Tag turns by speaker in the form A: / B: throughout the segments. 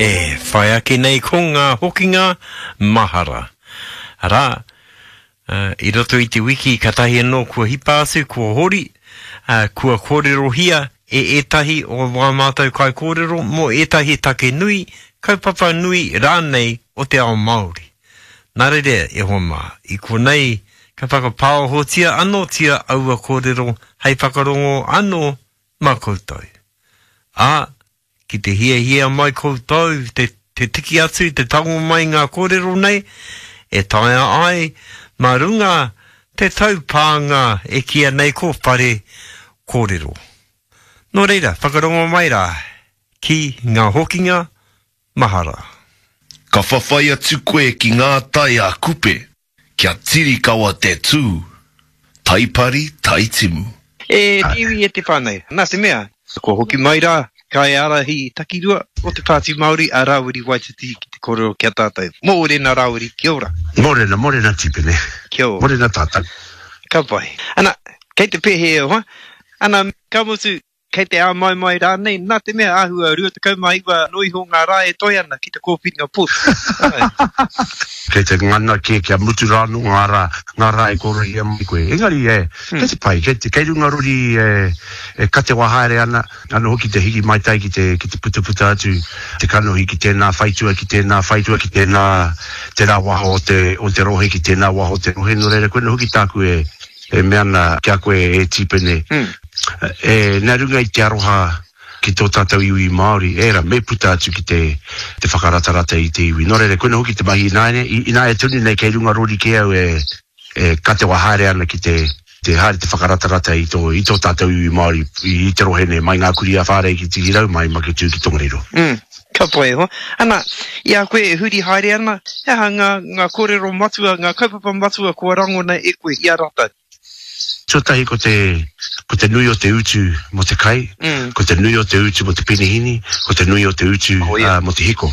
A: E whai ake nei ko ngā hokinga mahara. Arā, i roto i te wiki katahi anō kua hipa atu, kua hori, kua kōrerohia e ētahi o wā mātou kaikōrero mō ētahi take nui, kaupapa nui rānei o te ao Māori. Nā reira, e hoa mā, i konei ka whakapāohotia anōtia aua kōrero hei whakarongo anō mā koutou. Ā, ki te hiahia mai koutou te, te tiki atu, te tango mai ngā kōrero nei, e taea ai mā runga te taupānga e kīia nei ko Whare Kōrero. Nō reira, whakarongo mai rā ki ngā hokinga mahara.
B: Ka whawhai atu koe ki ngā tai a Kupe. Kia tiri kawa te tū, taipari taitimu.
A: E te iwi e te whānau, nā te mea, kua hoki mai rā kaiārahi takirua o te Pāti Māori a Rāwiri Waititi ki te kōrero ki a tātou. Mōrena Rāwiri, kia ora.
C: Mōrena, mōrena Tipene.
A: Kia ora.
C: Mōrena tātou.
A: Ka pai. Ana, kei te pēhea e hoa? Ana, ka mutu, Kei te āmaimai rānei, nā te mea āhua 29 noa iho ngā rā e toe ana ki te kōwhiringa pōti. Āe.
C: Kei te ngana kē kia mutu rā anō ngā rā, ngā rā e kōrohia mai koe. Engari, e, kei te pai, kei te, kei runga rori e, e katewa haere ana, anō hoki te hiki maitai ki te, ki te putaputa atu te kanohi ki tēnā whaitua, ki tēnā whaitua, ki tēnā, tērā waha o te, o te rohe, ki tēnā waha o te rohe. Nō reira, koinā hoki tāku e, E mea ana ki a koe e Tīpene, e, nā runga i te aroha ki tō tātou iwi Māori, ērā, me puta atu ki te, te whakaratarata i te iwi. Nō reira, koina hoki te mahi ināiane, ināia tonu nei kei runga rori kē au e, e katewa haere ana ki te, te haere te whakaratarata i tō, i tō tātou iwi Māori i, i te rohe nei, mai Ngā Kurī a Whārei ki Tihirau, mai Maketū ki Tongariro.
A: Mm. Ka pai e hoa. Ana, i a koe e huri haere ana, he aha ngā, ngā kōrero matua, ngā kaupapa matua kua rangona e koe i a rātou?
C: Tuatahi ko te, ko te nui o te utu mō te kai, ko te nui o te utu mō te penihini, ko te nui o te utu mō te hiko.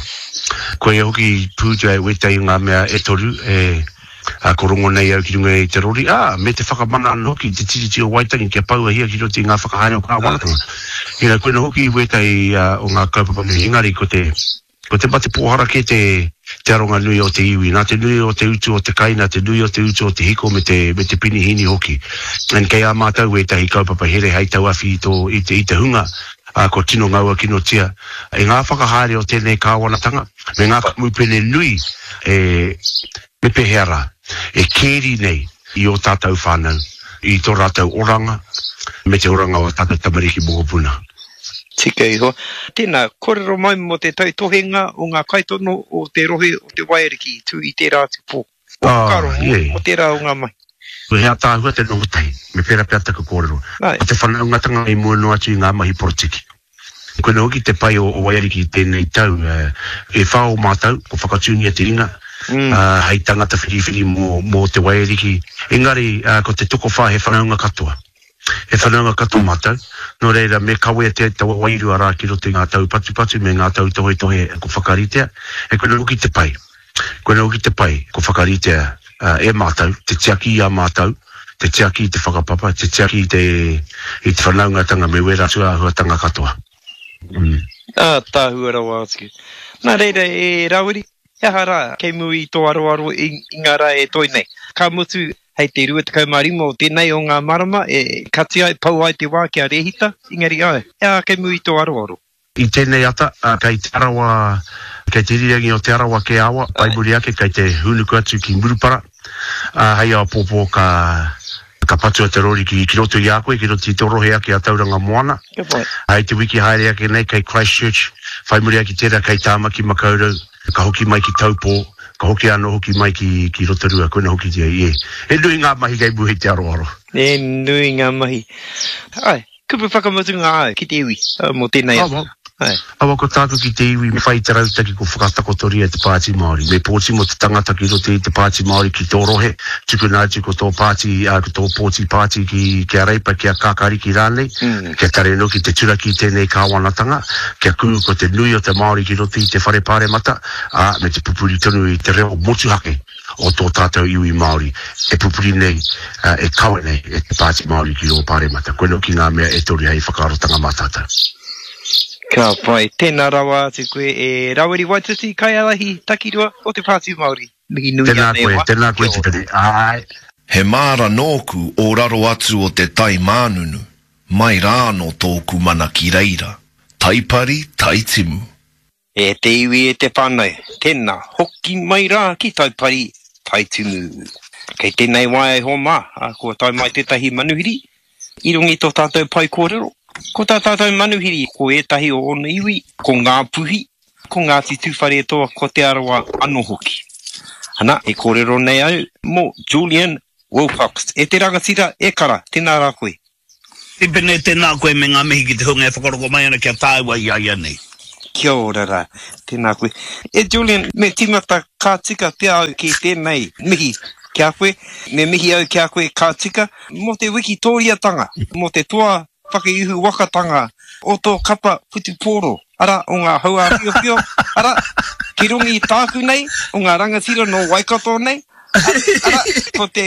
C: Koia hoki i pūtea e wētahi o ngā mea e toru e, Ā, ko rongo nei au ki runga i te rori, ā, me te whakamana anō hoki i te Tiriti o Waitangi kia pouahia ki roto i ngā whakahaere o kāwanatanga. Ina, koina hoki wētahi o ngā kaupapa nui, engari ko te, ko te mate pōhara kē te, te aronga nui o te iwi, nā te nui o te utu o te kai, nā te nui o te utu o te hiko me te, me te penihīni hoki. And kei a mātou wētahi kaupapa here hei tauawhi i tō, i te, i te hunga, ā, kua tino ngaua kinotia e ngā whakahaere o tēnei kāwanatanga me ngā kamupene nui e, me pēhea rā, e kēri nei i ō tātou whānau, i tō rātou oranga me te oranga o ā tātou tamariki mokopuna.
A: Tika iho. Tēnā, kōrero mai mō te tautohenga o ngā kaitono o te rohe o Te Waiariki i tū i tērā atu pō. Ō whakaaro mō tērā o ngā mahi.
C: He ātaahua te noho tahi, me pērā pea taku kōrero. Ko te whanaungatanga i mua noa atu i ngā mahi porotiki. Koinā hoki te pai o Waiariki i tēnei tau, e whā o mātou, kua whakatūngia te ringa hei tangata whiriwhiri mō te Waiariki, engari ko te tokowhā he whanaunga katoa. He whanaunga katoa mātou, nō reira me kawea te taua wairua rā ki roto i ngā taupatupatu me ngā tautohetohe kua whakaritea, e koinā hoki te pai. Koinā hoki te pai kua whakaritea e mātou, te tiaki i a mātou, te tiaki i te whakapapa, te tiaki i te i te whanaungatanga me wērā atu āhuatanga katoa.
A: Mm. Ātaahua rawa atu. Nā reira e Rawiri, he aha rā kei mua i tō aroaro i, i ngā rā e toe nei? Ka mutu, hei te 25 o tēnei o ngā marama e kati ai, pau ai te wā kia rēhita, engari āe, he aha kei mua i tō aroaro?
C: I tēnei ata, kei Te Arawa, kei te irirangi o Te Arawa kē awa, whai muri ake kei te hūnuku atu ki Murupara, ā, hei āpōpō ka, ka patua te rori ki, ki roto i a koe, ki roto i tō rohe ake a Tauranga Moana. Hei te wiki haere ake nei kei Christchurch, whai muri ake tērā kei Tāmaki Makaurau, ka hoki mai ki Taupō, ka hoki anō hoki mai ki, ki Rotorua, koina hoki te, e, he nui ngā mahi kei mua i te aroaro.
A: He nui ngā mahi. Āe, Kupu whakamutunga āu ki te iwi mō tēnei
C: ata. Awa, awa ko tāku ki te iwi me whai i te rautaki ko whakatakotoria e te Pāti Māori. Me pōti mō te tangata ki roto i te Pāti Māori ki tō rohe, tukuna atu ko tō pāti, ko tō pōti pāti ki, ki a Reipa, ki a Kākāriki rānei, kia tare anō ki te turaki i tēnei kāwanatanga, kia kuhu ko te nui o te Māori ki roto i te Whare Pāremata, ā, me te pupuri tonu i te reo motuhake. o tō tātou iwi Māori e pupuri nei, e kawe nei e te Pāti Māori ki rō Pāremata. Koinā hoki ngā mea e toru hei whakaarotanga mā tātou.
A: Ka pai. Tēnā rawa atu koe e Rawiri Waititi, kaiārahi takirua o te Pāti Māori. Mihi nui
C: Tēnā
A: ana e
C: koe,
A: hoa.
C: tēnā koe
A: Kia ora.
C: Tipene. Āe.
B: He māra nōku o raro atu o te tai mānunu, mai rā anō tōku mana ki reira, Taipari, Taitimu.
A: E te iwi e te whanau, tena, hoki mai rā ki Taipari, Taitumu. Kei tēnei wā e hoa mā, kua tae mai tētahi manuhiri i runga i tō tātou pae kōrero. Ko tā tātou manuhiri, ko ētahi o ōna iwi, ko Ngāpuhi, ko Ngāti Tūwharetoa, ko Te Arawa anō hoki. Ana, e kōrero nei au mō Julian Wilcox. E te rangatira, e kara, tēnā rā koe.
D: Tipene, tēnā koe me ngā mihi ki te hunga e whakaroko mai ana ki a tāua i a ia nei.
A: Kia ora rā, tēnā koe. E Julian, me tīmata ka tika pea au ki tēnei mihi ki a koe. Me mihi au ki a koe ka tika mō te wikitōriatanga, mō te toa whakaihu wakatanga o tō kapa whutupōro, arā, o ngā hauāwhiowhio, arā, ki runga i tāku nei, o ngā rangatira nō Waikato nei, Arā, ko te,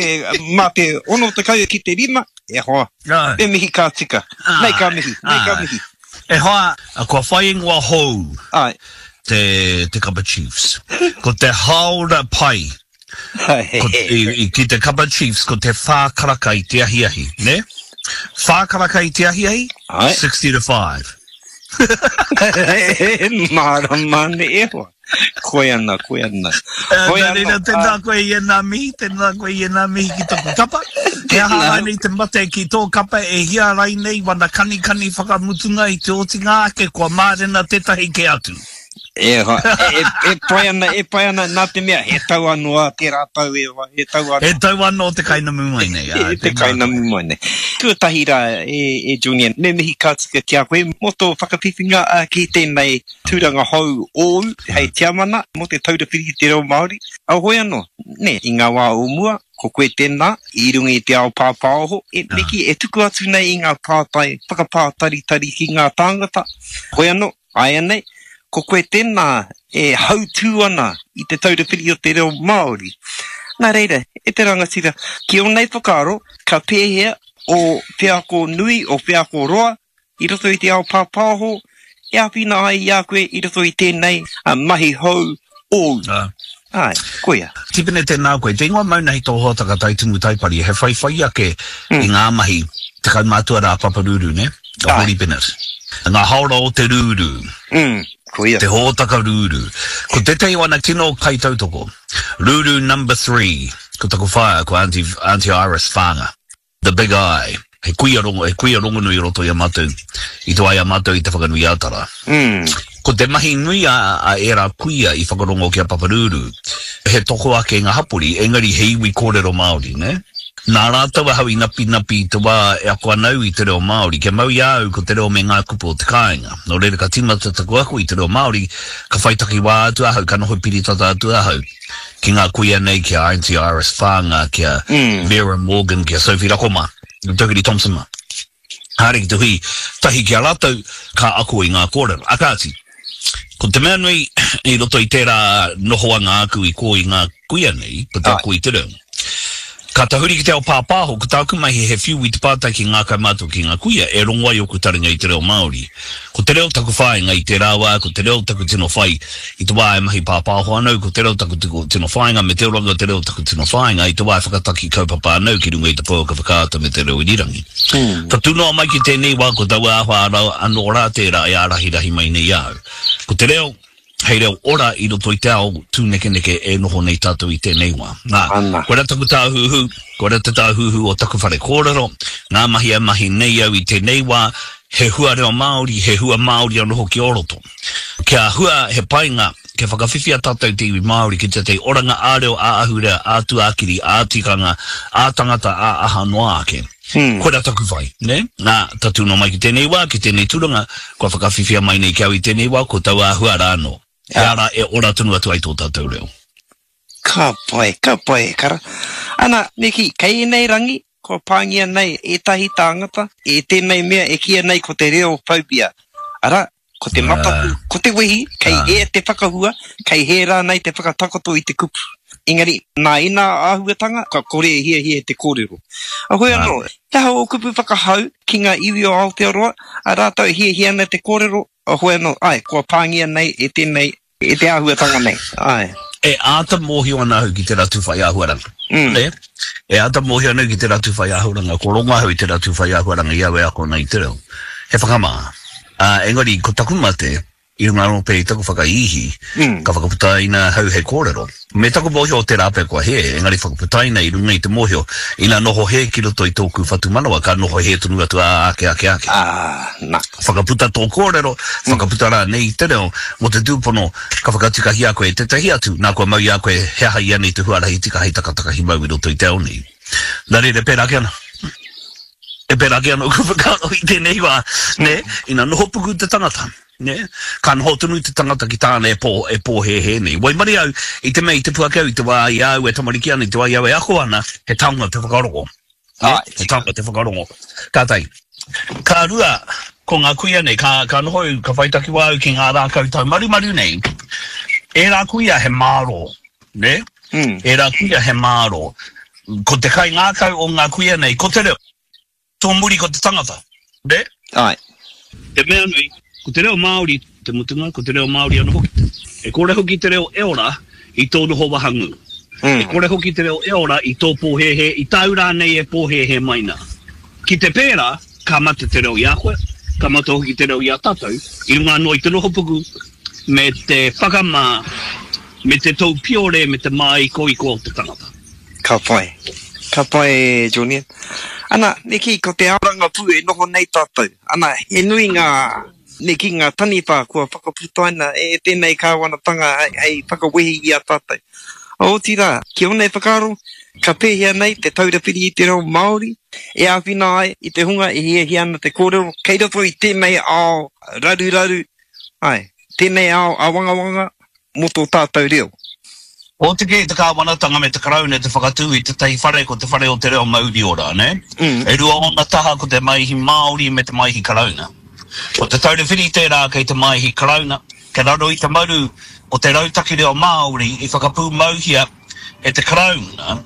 A: mā te 60 ki te rima, e hoa, me mihi ka tika. Nei ka mihi, nei ka mihi.
D: E hoa, kua whai ingoa hou
A: Āe.
D: te, te kapa Chiefs. Ko te hāora pai ko, i, i, ki te kapa Chiefs ko te whā karaka i te ahiahi, nē? Whā karaka i te ahiahi,
A: Āe.
D: 60 to 5.
A: Mārama nei e hoa. Koe ana, koe ana.
D: Koe ana. Nā reira, tēnā koe i ēnā mihi, tēnā koe i ēnā mihi ki taku kapa. He aha rānei te mate ki tō kapa e hia rainei wana kanikani whakamutunga i te otinga ake kua mārena tētahi kē atu.
A: E hoa, e, e, e pai ana, e pai ana, nā te mea, he tau anō a tērā tau e hoa, he tau anō.
D: He tau anō te kainamu mai nei.
A: Ā, te kainamu mai nei. Tuatahi rā, e, e Julian, me mihi ka tika ki a koe mō tō whakawhiwhinga ki tēnei tūranga hou ōu hei tiamana mō Te Taura Whiri i te Reo Māori. Heoi anō, nē, i ngā wā o mua, ko koe tēnā, i runga i te ao pāpāoho, e Miki, e tuku atu nei i ngā pātai whakapātaritari ki ngā tāngata. Heoi anō, āianei, ko koe tēnā e hautū ana i Te Taura Whiri o te Reo Māori. Nā reira, e te rangatira, ki ō nei whakaaro, ka pēhea ō wheako nui, ō wheako roa, i roto i te ao pāpāho e āwhina ai i a koe i roto i tēnei mahi hou ōu. Āe, koia.
D: Tipene, tēnā koe. Te ingoa mauna hei tō hōtaka Taitumu Taipari, he whaiwhai ake i ngā mahi kaumātua rā Papa Ruru, nē? A Hōri Bennett. Ngā hāora o te rūrū.
A: Mm, koia.
D: Te hōtaka rūrū. Ko tētahi o ana tino kaitautoko, Rūrū number three, ko taku whaea, ko Aunty, Aunty Iris Whanga. The Big I, he kuia rongo, he kuia rongonui i roto i a mātou, i te wā i a mātou i Te Whanganui-ā-Tara. Ko te mahi nui a, a ērā kuia i whakarongo ki a Paparūrū, he toko ake ngā hapori, engari he iwi kōrero Māori, nē? Nā rātou ahau i napinapi i te wā e ako ana au i te reo Māori, kia mau i a au ko te reo me ngā kupu o te kāinga. Nō reira ka tīmata taku ako i te reo Māori, ka whai takiwā atu ahau, ka noho piritata atu ahau. ki ngā kuia nei, ki a Aunty Iris Whānga, ki a Vera Morgan, ki a Sophie Rako mā, Tokiri Thompson mā. Haere ki te hui tahi ki a rātou, ka ako i ngā kōrero. A kāti, ko te mea nui i roto i tērā nohoanga āku i kō i ngā kuia nei, ko te ako i te reo. Ka tahuri ki te ao pāpāho, ko tāku mahi he whiu i te pātai ki ngā kaumātua ki ngā kuia e rongo ai ōku taringa i te reo Māori. Ko te reo taku whāinga i tērā wā, ko te reo taku tino whai i te wā e mahi pāpāho ana au, ko te reo taku tino whāinga me te oranga o te reo taku tino whāinga i te wā e whakataki kaupapa ana au ki runga i te pouaka whakaata me te reo irirangi. Tatū noa mai ki tēnei wā ko taua āhua anō rā tērā e ārahirahi mai nei i a au. Ko te reo, hei reo ora i roto i te ao tūnekeneke e noho nei tātou i tēnei wā. Nā, koirā taku tāhuhu, koirā te tāhuhu o taku whare kōrero, ngā mahi e mahi nei au i tēnei wā, he hua reo Māori, he hua Māori anō hoki o roto. Kia hua he painga, kia whakawhiwhia tātou te iwi Māori ki tētahi oranga ā-reo, ā-ahurea, ā-tuakiri, ā-tikanga, ā-tangata, ā-aha noa ake. Koirā taku whai, nē? Nā, tatū noa mai ki tēnei wā, ki tēnei tūranga, kua whakawhiwhia mai nei ki au i tēnei wā, ko taua āhua rā anō. He ara e ora tonu atu ai tō tātou reo.
A: Ka pai, ka pai e kara. Ana, me kī, kei ēnei rangi, kua pāngia nei ētahi tāngata e tēnei mea e kīia nei ko te reo phobia. Arā, ko te mataku, ko te wehi, kei hē te whakahua, kei hē rānei te whakatakoto i te kupu. Engari, nā ēnā āhuatanga, ka kore e hiahia te kōrero. Heoi anō, he aha ō kupu whakahau ki ngā iwi o Aotearoa, a rātou e hiahia ana te kōrero, heoi anō, āe, kua pāngia nei e tēnei, e te āhuatanga nei, āe.
D: E āta mōhio ana ahau ki te ratu whai āhuaranga. Nē? E āta mōhio ana au ki te ratu whai āhuaranga, kua rongo ahau i te ratu whai āhuaranga i au e ako ana i te reo. He whakamā. Ā, engari, ko taku mate, I runga anō pea i taku whakaihi, ka whakaputaina ahau hei kōrero. Me taku mōhio o tērā pea kua hē, engari whakaputaina i runga i te mōhio, ina noho hē ki roto i tōku whatumanawa, ka noho hē tonu atu ā ake, ake, ake.
A: Ā, nā.
D: Whakaputa tō kōrero, whakaputa rānei i te reo, mō te tūpono ka whakatikahia koe e tētahi atu, nā kua mau i a koe he aha ianei te huarahi tika hei takatakahi mau i roto i te ao nei. Nā reira, pērā ake ana. E pērā ake ana ōku whakaaro i tēnei wā, nē, ina noho puku te tangata, nē, ka noho tonu te tangata ki tāna e pō, e pōhēhē nei. Waimarie au, i te mea i tipu ake au i te wā i a au e tamariki ana, i te wā i a au e ako ana, he taonga te whakarongo, nē, he taonga te whakarongo. Ka tahi. Ka rua, ko ngā kuia nei, ka, ka noho au, ka whai takiwā au ki ngā rākau taumarumaru nei, ērā kuia he mārō, nē, ērā kuia he mārō. Ko te kaingākau o ngā kuia nei, ko te reo. Tō muri ko te tangata, nē?
A: Āe.
D: Te mea nui, ko te reo Māori te mutunga, ko te reo Māori anō hoki. E kore hoki te reo e ora i tō noho wahangū. E kore hoki te reo e ora i tō pōhēhē, i tāu rānei e pōhēhē mai nā. Ki te pērā, ka mate te reo i a koe, ka mate hoki te reo i a tātou, i runga anō i te nohopuku me te whakamā, me te tou piore me te māikoiko o te tangata.
A: Ka pai. Ka pai e Julian. Ana, me kī, ko te ao rangapū e noho nei tātou. Ana, he nui ngā, me kī, ngā taniwha kua whakaputaina e tēnei kāwanatanga hei whakawehi i a tātou. Otirā, ki ōnei whakaaro, ka pēhea nei te Taura Whiri i te Reo Māori e āwhina ai i te hunga e hiahia ana te kōrero kei roto i tēnei ao raruraru, āe, tēnei ao āwangawanga, mō tō tātou reo.
D: Oti kē te kāwanatanga me te Karauna te whakatū i tētahi whare ko Te Whare o te Reo Mauri Ora, nē? E rua ōna taha ko te Maihi Māori me te Maihi Karauna. Ko Te Taura Whiri tērā kei te Maihi Karauna, kei raro i te maru o te Rautaki Reo Māori i whakapūmauhia e te Karauna,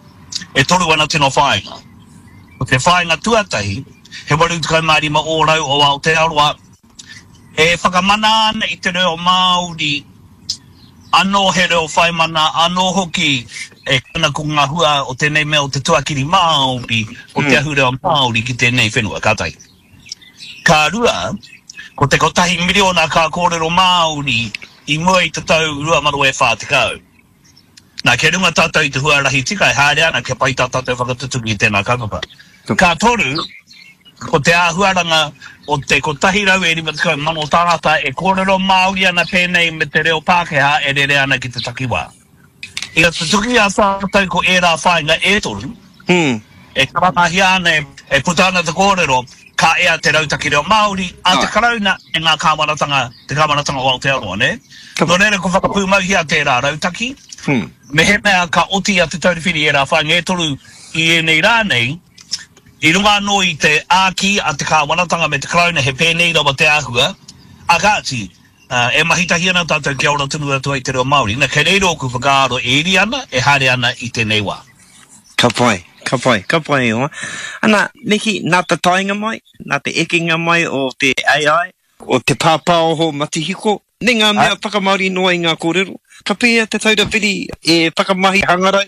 D: e toru ana tino whāinga. Ko te whāinga tuatahi, he 85 ōrau o Aotearoa E whakamana ana i te reo Māori anō he reo whaimana anō hoki e ana ko ngā hua o tēnei mea o te tuakiri Māori, o te ahurea Māori ki tēnei whenua, ka tahi. Ka rua, ko te kotahi miriona ka kōrero Māori i mua i te tau 2040. Nā, kia runga tātou i te huarahi tika e haere ana kia pai tā tātou whakatutuki i tēnā kaupapa. Ka toru, ko te āhuaranga o te 150,000 tāngata e kōrero Māori ana pēnei me te reo Pākehā e rere ana ki te takiwā. Ina tutuki i a tātou ko ērā whāinga e toru, e karangahia ana, e puta ana te kōrero, ka ea te Rautaki Reo Māori a te Karauna e ngā kāwanatanga, te kāwanatanga o Aotearoa, nē? Nō reira, kua whakapūmauhia tērā rautaki. Mehemea ka oti i a Te Taura Whiri ērā whāinga e toru i ēnei rā nei, i runga anō i te āki a te kāwanatanga me te Karauna he pēnei rawa te āhua, ā kāti, e mahi tahi ana tātou kia ora tonu atu ai te reo Māori. Na, kei reira ōku whakaaro e iri ana, e haere ana i tēnei wā.
A: Ka pai, ka pai, ka pai e hoa. Ana, me kī, nā te taenga mai, nā te ekenga mai o te AI, o te pāpāoho matihiko, me ngā mea whakamāori noa i ngā kōrero, ka pēhea Te Taura Whiri e whakamahi hangarau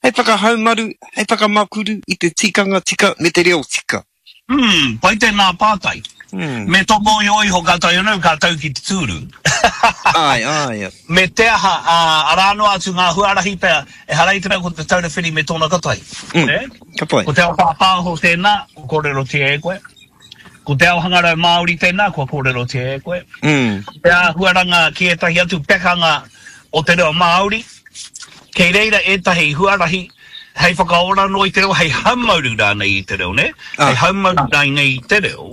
A: hei whakahaumaru, hei whakamakuru i te tikanga tika me te reo tika?
D: Umm, pai tēnā pātai. Me tō mōhio iho ka tae anō, ka tau ki te tūru.
A: Āe, āe.
D: Me te aha, ā, arā noa atu ngā huarahi pea, ehara i te mea ko Te Taura Whiri me tōna kotahi.
A: Nē? Ka pai.
D: Ko te ao pāpāho tēnā, kua kōrerotia e koe. Ko te ao hangarau Māori tēnā, kua kōrerotia e koe. Ko te āhuaranga ki ētahi atu pekanga o te reo Māori, kei reira ētahi huarahi hei whakaora noa i te reo, hei haumaru rānei i te reo, nē? Hei haumaru rānei i te reo,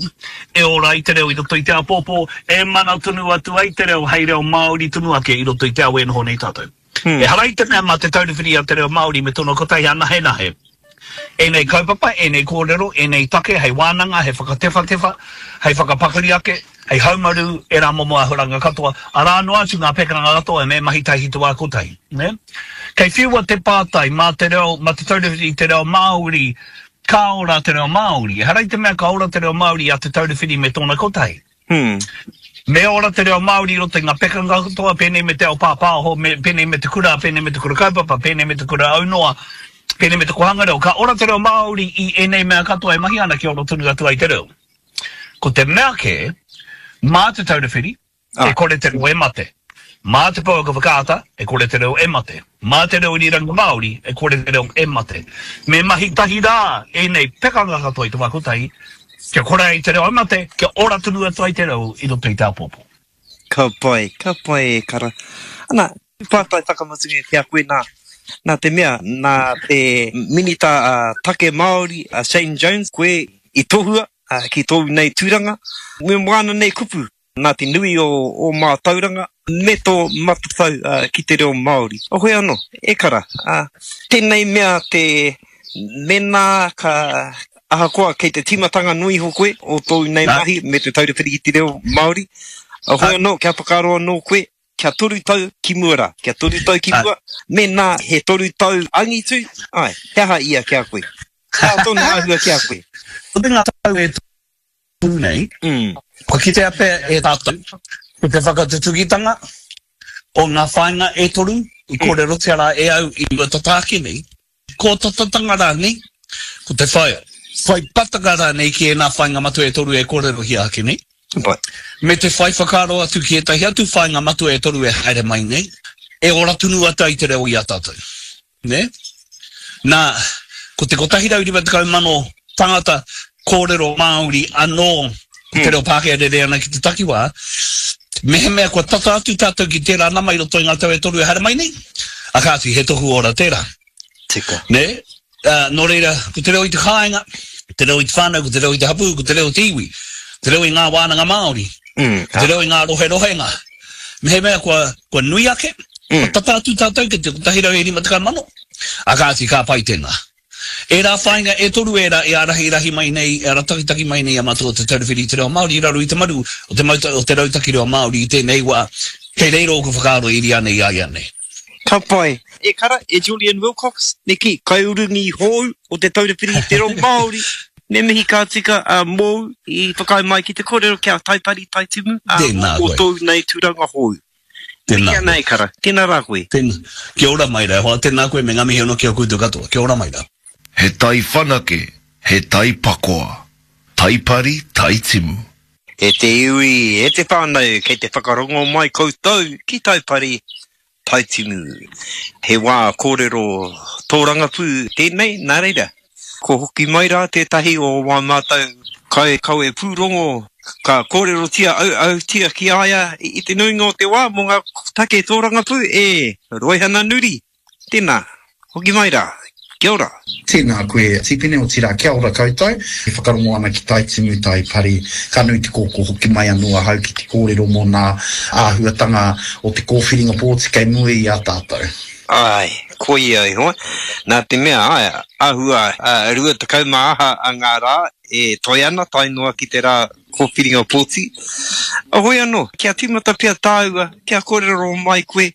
D: e ora ai te reo i roto i te āpōpō, e mana tonu atu ai te reo hei reo Māori tonu ake i roto i te ao e noho nei tātou. Ehara i te mea mā Te Taura Whiri a te Reo Māori me tōna kotahi anahenahe ēnei kaupapa, ēnei kōrero, ēnei take hei wānanga, hei whakatewhatewha, hei whakapakari ake, hei haumaru ērā momo āhuranga katoa, arā noa atu ngā pekanga katoa me mahi tahi te wā kotahi, nē? Kei whiua te pātai, mā te reo, mā Te Taura Whiri i te Reo Māori, ka ora te reo Māori. Ehara i te mea ka ora te reo Māori i a Te Taura Whiri me tōna kotahi. Me ora te reo Māori i roto i ngā pekanga katoa, pēnei me te ao pāpāho, me, pēnei me te kura, pēnei me te kura kaupapa, pēnei me te kura aunoa, pēnei me te kohanga reo. Ka ora te reo Māori i ēnei mea katoa e mahi ana kia ora tonu atu ai te reo. Ko te mea kē, mā Te Taura Whiri, e kore te reo e mate. Mā te pouaka whakaata, e kore te reo e mate. Mā te reo irirangi Māori, e kore te reo e mate. Me mahi tahi rā ēnei pekanga katoa i te wā kotahi, kia kore ai te reo e mate, kia ora tonu atu ai te reo i roto i te āpōpō.
A: Ka pai, ka pai e kara. Ana, pātai whakamutunga ki a koe nā, nā te mea, nā te Minita Take Māori a Shane Jones koe i tohua ki tōu nei tūranga, me wāna nei kupu Nā te nui o ō mātauranga me tō matatau ki te reo Māori. Hoi anō, e kara, tēnei mea te mēnā ka, ahakoa kei te tīmatanga noa iho koe o tōu nei mahi me te Taura Whiri i te Reo Māori, hoi anō, kia whakaaro anō koe, kia toru tau ki mua rā, kia toru tau ki mua, mēnā he toru tau angitu, āe, he aha ia ki a koe? He aha tōna āhua ki a koe?
D: Ko te ngā tau e tū nei, kua kitea pea e tātou ko te whakatutukitanga o ngā whāinga e toru i kōrerotia rā e au i mua tata ake nei, kōtatatanga rānei, ko te whai, whai patanga rānei ki ēnā whāinga matua e toru e kōrerohia ake nei, me te whai whakaaro atu ki ētahi atu whāinga matua e toru e haere mai nei, e ora tonu atu ai te reo i a tātou. Nē? Nā, ko te 150 mano tangata kōrero Māori anō ko te reo Pākehā rere ana ki te takiwā, mehemea kua tata atu tātou ki tērā nama i roto i ngā tau e toru e haere mai nei, a kāti, he tohu ora tērā.
A: Tika.
D: Nē? Ā, nō reira, ko te reo i te kāinga, te reo i te whānau, ko te reo i te hapū, ko te reo i te iwi, te reo i ngā wānanga Māori, ko te reo i ngā roherohenga. Mehemea kua, kua nui ake, kua tata atu tātou ki te 150 mano, ā kāti, ka pai tēnā. Ērā whāinga e toru ērā e ārahirahi mai nei, e aratakitaki mai nei a mātou o Te Taura Whiri i te Reo Māori i raro i te maru o te mauta, o te Rautaki Reo Māori i tēnei wā, kei reira ōku whakaaro e iri ana i a ia nei.
A: Ka pai. E kara, e Julian Wilcox, me kī, kaiurungi hou o Te Taura Whiri i te Reo Māori, me mihi ka tika mōu i whakaae mai ki te kōrero kia Taipari Taitimu,
D: Tēnā
A: mō
D: koe.
A: tōu nei tūranga hou.
D: Tēnā
A: Mihi ana
D: koe.
A: e kara, tēnā rā koe.
D: Tēnā. Kia ora mai rā e hoa, tēnā koe me ngā mihi anō ki a koutou katoa. Kia ora mai rā.
B: He tai whanake, he tai pakoa. Taipari, taitimu.
A: E te iwi, e te whānau kei te whakarongo mai koutou ki Taipari, Taitimu. He wā kōrero tōrangapū tēnei, nā reira, ko hoki mai rā tētahi o wā mātou kaikawe pūrongo ka kōrerotia auautia ki a ia i te nuinga o te wā mō ngā take tōrangapū, e Roihana Nuri. Tēnā, hoki mai rā. Kia ora.
E: Tēnā koe Tipene, otirā kia ora koutou. E whakarongo ana ki Tai Timu, Tai Pari. Ka nui te kōkō hoki mai anō ahau ki te kōrero mō nā āhuatanga o te kōwhiringa pōti kei mua i a tātou.
A: Āe, koia e hoa. Nā te mea, āe, āhua 20 mā aha a ngā rā e toe ana tae noa ki te rā kōwhiringa pōti. Hoi anō, kia tīmata pea tāua, kia kōrero mai koe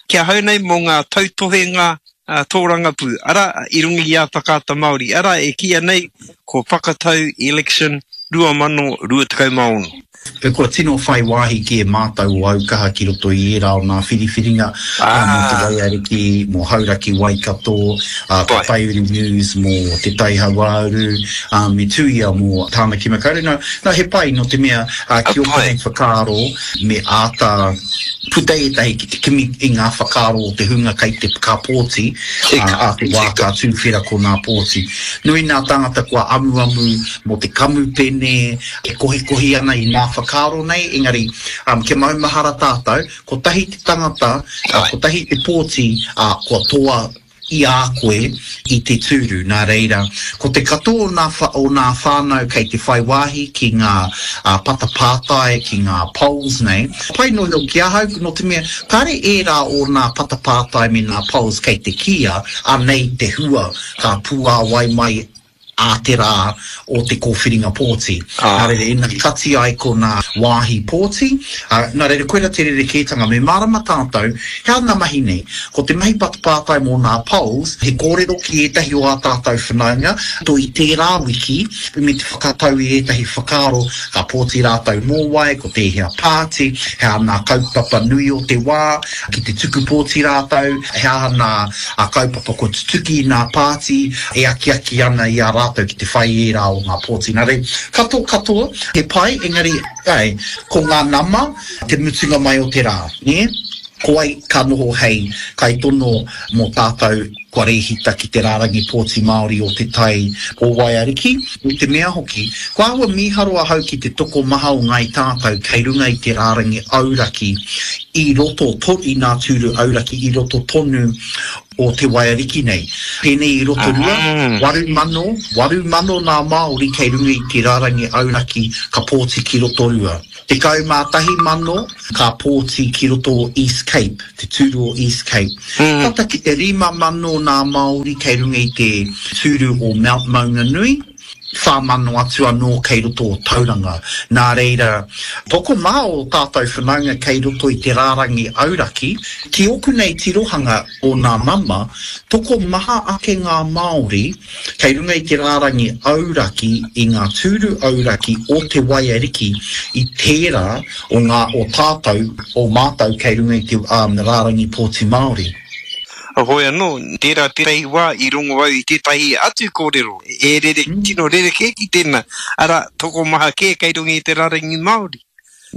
A: ki ahau nei mō ngā tautohenga tōrangapū, arā, i runga i a Whakaata Māori, arā, e kīia nei ko Whakatau Election 2026.
E: Kua tino whai wāhi kē mātou o Aukaha ki roto i ērā o nā whiriwhiringa, mō Te Waiariki, mō Hauraki Waikato, ko Taiuru News mō Te Tai Hauāuru, me Tuia mō Tāmaki Makaurau. Nā, nā, he pai nō te mea, ki ōku nei whakaaro me āta puta ētahi ki te kimi i ngā whakaaro o te hunga kei te ka pōti, ā te wā ka tūwhera ko nā pōti. Nui nā tāngata kua amuamu mō te kamupene e kohikohi ana i nā whakaaro nei, engari kia maumahara tātou, kotahi te tangata, kotahi te pōti, ā, kua toa i a koe i te tūru. Nā reira, ko te katoa o nā, o nā whānau kei te whai wāhi ki ngā patapātai, ki ngā polls nei, pai noa iho ki ahau, nō te mea, kāre ērā o nā patapātai me nā polls kei te kīia, anei te hua ka puāwai mai. ā te rā o te kōwhiringa pōti. Nā reira, ina kati ai ko nā wāhi pōti, ā, nā reira, koira te rerekētanga, me mārama tātou, he aha ngā mahi nei? Ko te mahi patapātai mō nā polls, he kōrero ki ētahi o ā tātou whanaunga, to i tērā wiki, me te whakatau i ētahi whakaaro, ka pōti rātou mō wai, ko tēhea pāti, he aha nā kaupapa nui o te wā, ki te tuku pōti rātou, he aha nā kaupapa kua tutuki i nā pāti e akiaki ana i a rātou ki te whai i ērā o ngā pōti. Nā reira, katoa katoa, he pai, engari, āe, ko ngā nama te mutunga mai o te rā, nē? Ko wai ka noho hei kaitono mō tātou kua rēhita ki te rārangi pōti Māori o Te Tai o Waiariki? Me te mea hoki, kua āhua mīharo ahau ki te tokomaha o ngāi tātou kei runga i te rārangi auraki i roto i ngā tūru auraki i roto tonu o Te Waiariki nei. Pēnei i Rotorua, 8,000, 8,000 ngā Māori kei runga i te rārangi auraki ka pōti ki Rotorua. 11,000 ka pōti ki roto o East Cape, te tūru o East Cape. Tata ki te 5,000 nā Māori kei runga i te tūru o Mount Maunganui, 4,000 atu anō kei roto o Tauranga. Nā reira, tokomaha o tātou whanaunga kei roto i te rārangi auraki. Ki ōku nei tirohanga o nā nama, tokomaha ake ngā Māori Kei runga i te rārangi auraki i ngā tūru auraki o Te Waiariki i tērā o ngā o tātou, o mātou kei runga i te rārangi pōti Māori.
A: Heoi anō, tērā tētahi wā i rongo au i tētahi atu kōrero e rere, tino rerekē ki tēnā, arā, tokomaha kē kei runga i te rārangi Māori.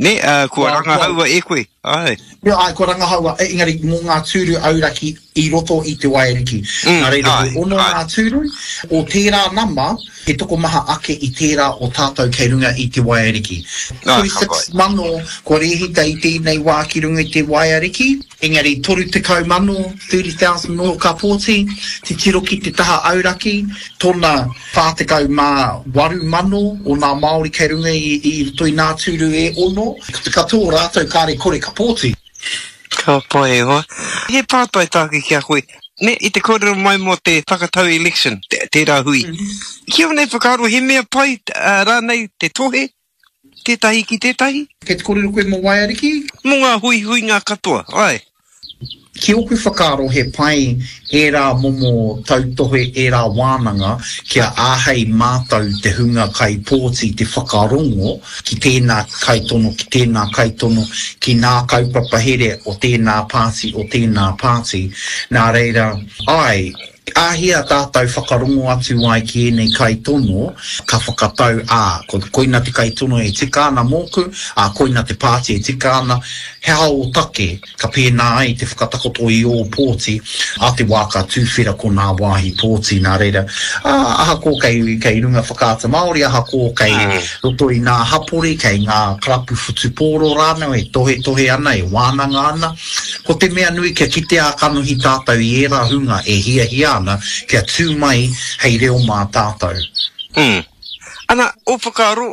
A: Nē, ā, kua rangahaua e koe, āe.
E: Āe, kua rangahaua, engari mō ngā tūru auraki i roto i Te Waiariki. Nā reira, he ono ngā tūru, o tērā nama, he tokomaha ake i tērā o tātou kei runga i Te Waiariki. 36,000 kua rēhita i tēnei wā ki runga i Te Waiariki. Engari 30,000, 30,000 nō ka pōti, titiro ki te taha auraki, tona 48,000 o nā Māori kei runga i i roto i nā tūru e ono, ko te katoa o rātou kāre kore ka pōti.
A: Ka pai e hoa. He pātai tāku ki a koe, ne, i te kōrero mai mō te whakatau election, tērā hui. Ki ō nei whakaaro he mea pai rānei te tohe tētahi ki tētahi?
E: Kei te kōrero koe mō Waiariki?
A: Mō ngā huihuinga katoa, āe.
E: Ki ōku whakaaro he pai ērā momo tautohe, ērā wānanga kia āhei mātou te hunga kaipōti te whakarongo ki tēnā kaitono, ki tēnā kaitono, ki nā kaupapa here o tēnā pāti, o tēnā pāti. Nā reira, āe, Āhea tātou whakarongo atu ai ki ēnei kaitono, ka whakatau, ā, ko, koina te kaitono e tika ana mōku, ā, koina te pāti e tika ana, he aha ō take ka pēnā ai te whakatakoto i ō pōti, ā te wā ka tūwhera ko nā wāhi pōti, nā reira, ā, ahakoa kei, kei runga Whakaata Māori, ahakoa kei roto i nā hapori, kei ngā karapu whutupōro rānau e tohetohe ana, e wānanga ana, Ko te mea nui kia kite ā-kanohi tātou i ērā hunga e hiahia ana kia tū mai hei reo mā tātou.
A: Mm. Ana, ō whakaaro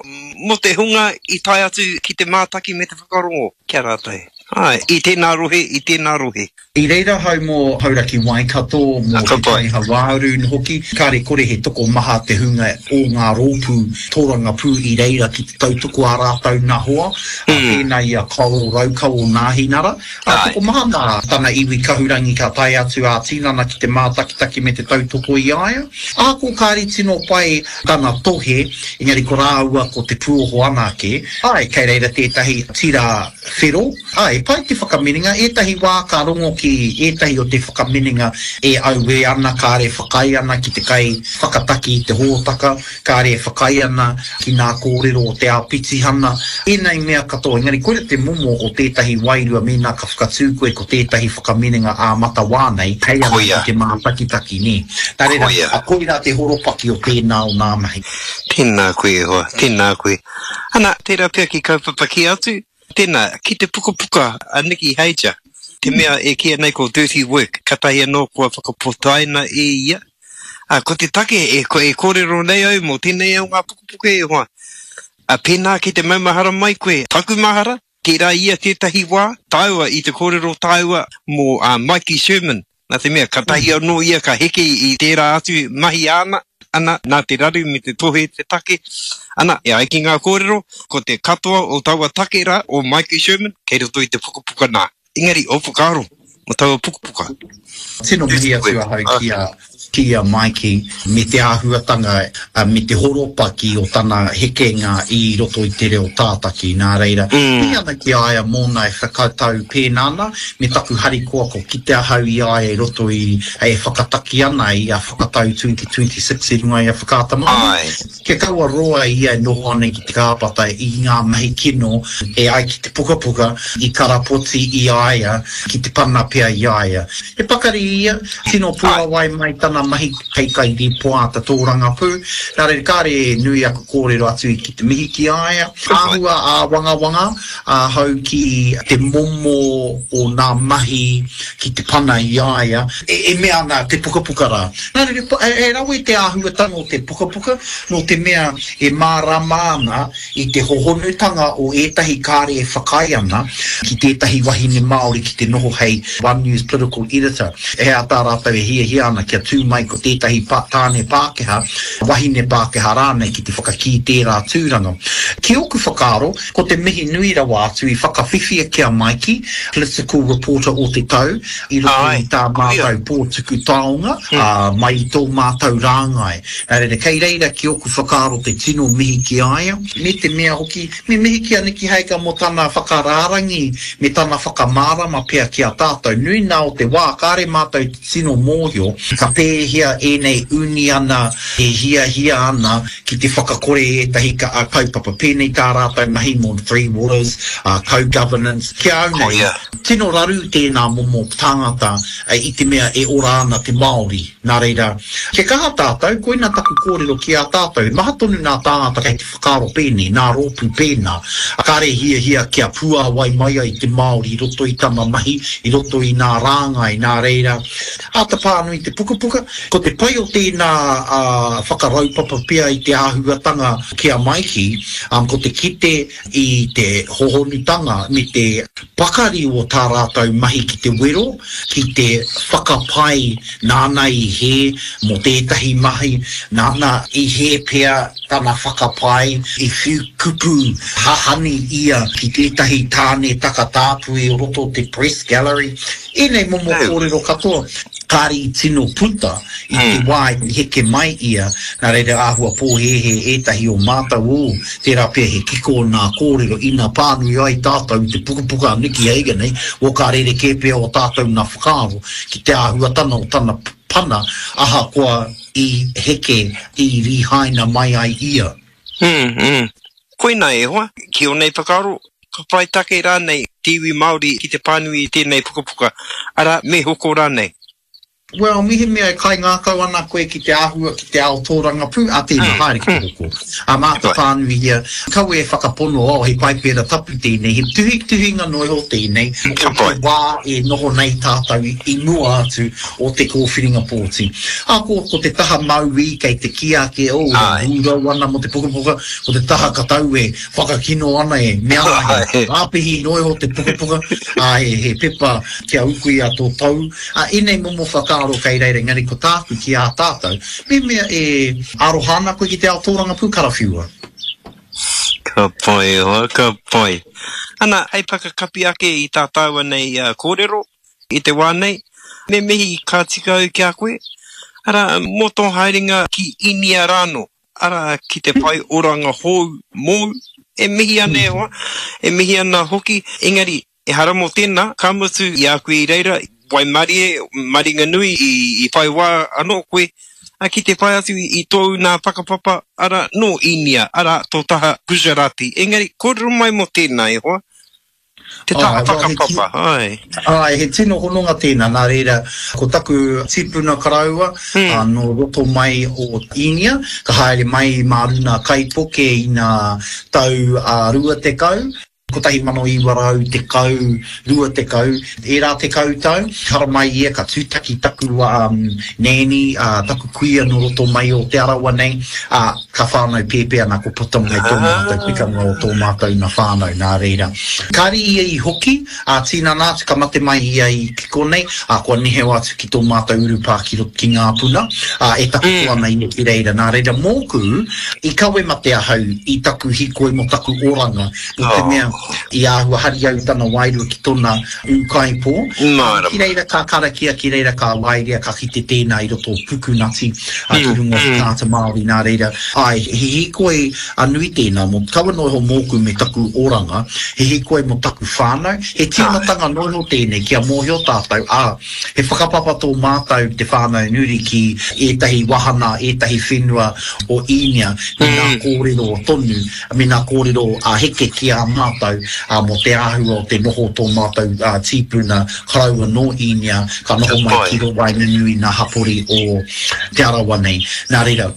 A: mō te hunga i tae atu ki te mātaki me te whakarongo ki a rātou? Āe, i tēnā rohe, i tēnā rohe.
E: I reira ahau mō Hauraki Waikato, mō Te Tai Hauāuru hoki, kāre kore he tokomaha te hunga o ngā rōpū tōrangapū i reira ki te tautoko ā rātou nā hoa, ā, pēnā i a Coral Raukawa o Nāhinara, ā, tokomaha nā tana iwi kahurangi ka tae atu ā-tinana ki te mātakitaki me te tautoko i a ia. Ahakoa kāre tino pai tana tohe, engari ko rāua ko Te Puoho anake, āe, kei reira tētahi tira whero, āe, pai te whakaminenga, ētahi wā ka rongo ki ētahi o te whakaminenga e auē ana, kāre e whakaae ana ki te kai whakataki i te hōtaka, kāre e whakaae ana ki nā kōrero o te āpitihana, ēnei mea katoa, engari koira te momo o tētahi wairua mēnā ka whakatū koe ko tētahi whakaminenga ā-matawā nei, hei ana ki te mātakitaki, nē. Nā reira, koirā te horopaki o tēnā o nā mahi.
A: Tēnā koe e hoa, tēnā koe. Ana, tērā pea ki kaupapa kē atu, tēnā, ki te pukapuka a Nikki Hager, te mea e kīia nei ko Dirty Work, katahi anō kua whakapotaina e ia. Ā, ko te take e, e kōrero nei au mō tēnei o ngā pukapuka e hoa, ā, pēnā ki te maumahara mai koe, taku mahara, tērā ia tētahi wā, tāua i te kōrero tāua mō ā Mikey Sherman, nā te mea, katahi anō ia ka heke i tērā atu mahi āna. Ana, nā te raru me te tohe te take. Ana, e ai ki ngā kōrero, ko te katoa o taua take rā, o Maiki Sherman, kei roto i te pukapuka nā. Engari, ō whakaaro mō taua pukapuka?
E: Tino mihi atu ahau ki a, ki a Maiki me te āhuatanga me te horopaki o tana hekenga i roto i te reo tātaki. Nā reira, mihi ana ki a ia mōna e whakatau pēnā ana, me taku harikoa ko kite ahau i a ia i roto i, e whakataki ana i a Whakatau 2026 i runga i a Whakaata Māori. Kia kaua roa ia e noho ana ki te kāpata i ngā mahi kino e ai ki te pukapuka i karapoti i a ia, ki te pana pea i a ia. He pakari ia, tino puawai mai tana mahi hei kairīpoata tōrangapū, nā reira kāre e nui aku kōrero atu ki te mihi ki a ia. Āhua āwangawanga ahau ki te momo o nā mahi ki te pana i a ia, e mea ana te pukapuka rā. Nā reira, he rawe te āhuatanga o te pukapuka, nō te mea e mārama ana i te hohonutanga o ētahi kāre e whakaae ana ki tētahi wahine Māori ki te noho hei One News Political Editor. He aha tā rātou e hiahia ana kia tū mai ko tētahi tāne Pākehā, wahine Pākehā rānei ki te whakakī tērā tūranga. Ki ōku whakaaro, Ko te mihi nui rawa atu i whakawhiwhia ki a Maiki, Political Reporter o te Tau, i roto i tā mātou pō tuku taonga, ā, mai i tō mātou rāngai. Nā reira, kei reira ki ōku whakaaro te tino mihi ki a ia, me te mea hoki, me mihi ki a Niki Haika mō tana whakarārangi me tana whakamārama pea ki a tātou. Nui nā o te wā, kāre mātou i te tino mōhio ka pēhea ēnei uniana e hiahia ana ki te whakakore i ētahi kaupapa, pēnei tā rātou mahi mō Three Waters, co-governance. Ki a au nei, tino raru tēnā momo tāngata i te mea e ora ana te Māori. Nā reira, kia kaha tātou, koina taku kōrero ki a tātou, he maha tonu nā tāngata kei te whakaaro pēnei, nā rōpū pēnā, kāre hiahia kia puāwai mai ai te Māori i roto i tana mahi, i roto i nā rāngai, nā reira, āta pānui te pukapuka. Ko te pai o tēnā whakaraupapa pea i te āhuatanga ki a Maiki, ko te kite i te hohonutanga me te pakari o tā rātou mahi ki te wero, ki te whakapae nāna i hē mō tētahi mahi, nāna i hē pea tana whakapae, i whiu kupu hahani ia ki tētahi tāne takatāpui o roto o te Press Gallery. Ēnei momo kōrero katoa, kāre i tino puta i te wā i heke mai ia, nā reira āhua pōhēhē ētahi o mātou, ō, tērā pea he kiko o nā kōrero ina pānui ai tātou i te pukapuka a Nicky Hager nei, ō ka rerekē pea o tātou nā whakaaro ki te āhuatana o tana pana ahakoa i heke, i rihaina mai ai ia.
A: Mm, mm. Koina e hoa, ki ō nei whakaaro, ka whai take rānei te iwi Māori ki te pānui i tēnei pukapuka, arā, me hoko rānei?
E: Well, mehemea e kaingākau ana koe ki te āhua ki te ao tōrangapū, a tēnā, haere ki te hoko. Ā, mā te pānuihia, kaua e whakapono, oh, he paipera tapu tēnei, he tuhituhinga noa iho tēnei, o te wā e noho nei tātou i mua atu o te kōwhiringa pōti. Ā, ko, ko te taha mauī kei te kī ake, oh, e hūrau ana mō te pukapuka, ko te taha katau e whakakino ana e mea ana he rāpihi noa iho te pukapuka, ā, he, he pepa kia ukuia tō tou. Ā, ēnei momo whakaaro kei reira, engari ko tāku ki ā tātou, mehemea e aroha ana koe ki te ao tōrangapū, karawhiua.
A: Ka pai e hoa, ka pai. Ana, hei whakakapi ake i tā tāua nei kōrero, I te wā nei, me mihi ka tika au ki a koe, arā, mō tō haerenga ki Īnia rānō, arā, ki te whai oranga hou mōu, e mihi ana e hoa, e mihi ana hoki, engari, ehara mō tēnā, ka mutu i a koe i reira, waimarie, maringanui i whai wā anō koe ki te whai atu i tōu nā whakapapa, arā, nō Īnia, arā, tō taha Gujarati. Engari, kōrero mai mō tēnā e hoa. Te taha whakapapa,
E: āe. Āe, he tino hononga tēnā, nā reira, ko taku tipuna koroua, nō roto mai o Īnia, ka haere mai mā runa kaipuke i ngā tau 20. 1910, 20, ērā tekau tau, haramai ia ka tūtaki taku nēni, taku kuia nō roto mai o Te Arawa nei, ā, ka whānau pēpē ana ko puta mai tō mātou pikanga o tō mātou na whānau, nā reira. Kāre ia i hoki, ā, tīnana atu ka mate mai ia i ki konei, ā, kua neheo atu ki tō mātou urupā ki roto ki Ngāpuna, ā, e takoto ana ia ki reira. Nā reira, mōku, i kawe mate ahau i taku hīkoi mō taku oranga, nō te mea i āhua hari au i tana wairua ki tona ūkaipō.
A: Mārama.
E: Ki reira ka karakia, ki reira ka waerea, ka kite tēnā i roto o Pukunati, ā, ki runga o Whakaata Māori, nā reira, āe, he hīkoi a nui tēnā mō, kaua noa iho mōku me taku oranga, he hīkoi mō taku whānau, he tīmatanga noa iho tēnei kia mōhio tātou, ā, He whakapapa tō mātou te whānau Nuri ki ētahi wahana, ētahi whenua o Īnia me ngā kōrero tonu, me ngā kōrero a Heke ki a mātou mō te āhua o te noho o tō mātou tīpuna koroua nō Īnia ka noho mai ki waenganui i ngā hapori o Te Arawa nei. Nā reira.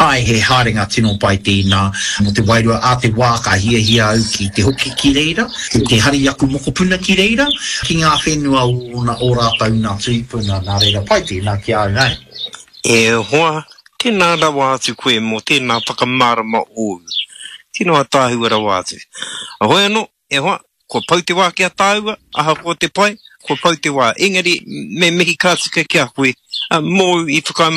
E: Āe, he haerenga tino pai tēnā mō te wairua. Ā te wā ka hiahia au ki te hoki ki reira, ki te hari aku mokopuna ki reira, ki ngā whenua o ōna, ō rātou nā tūpuna, nā reira pai tēnā ki a au, āe.
A: E hoa, tēnā rawa atu koe mō tēnā whakamārama ōu. Tino ataahua rawa atu. Heoi anō, e hoa, kua pau te wā ki a tāua, ahakoa te pai, kua pau te wā. Engari, me mihi ka tika ki a koe, mōu i whakaae.